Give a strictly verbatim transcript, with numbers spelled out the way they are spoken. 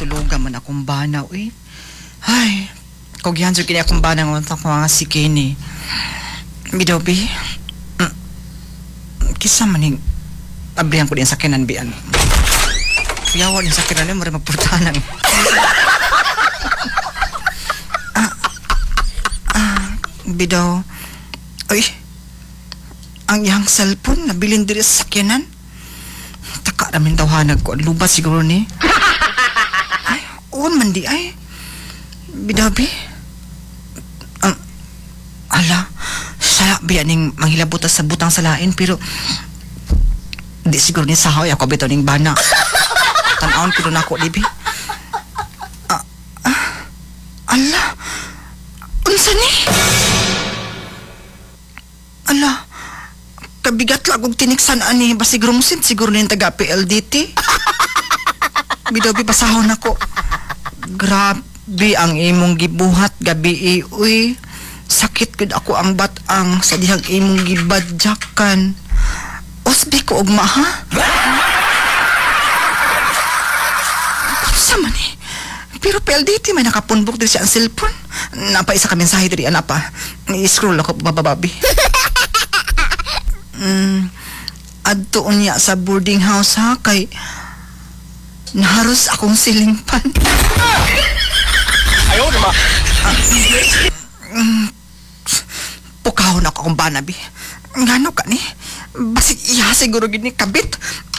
Tuluga man akong bana, uy. Ay, kugyan jud kini akong bana nga ko nga si Kenny. Bidaw bi. Mm. Kisa man ning abrihan ko din sa kinan bian. Kuyawa din sa kinan mo magpurtanan. ah, ah, bidaw. Uy, ang iyang cellphone nabilin diri sa sakyanan. Taka ramin tawhanag ko. Luba siguro ni. Ay, on man di ay. Bidabi. Ang ala, sala biya ning manghilabot sa butang sa lain pero di siguro ni sahoy ako bitaw ning bana. Tan-awon ko nako dibi. Ah, ah, ala, unsa ni? Ala, kabigat lang og tiniksan ani basig rungsin siguro ni taga P L D T. Bidaw bi basahon nako. Grabe ang imong gibuhat gabi uy. Sakit gud ako ang batang sa dihang imong gibadyakan. Usbi ko og maha. Unsa man eh? Pero P L D T may nakapunbok diri siya ang cellphone. Napa isa ka mensahe diri ana pa. I-scroll ako babababi. Mm, adto niya sa boarding house ha kay naharos akong silingpan. Ayaw na ma. Mm, pukahon ako akong banabi. Ngano ka ni? Basig iya siguro gid ni kabit.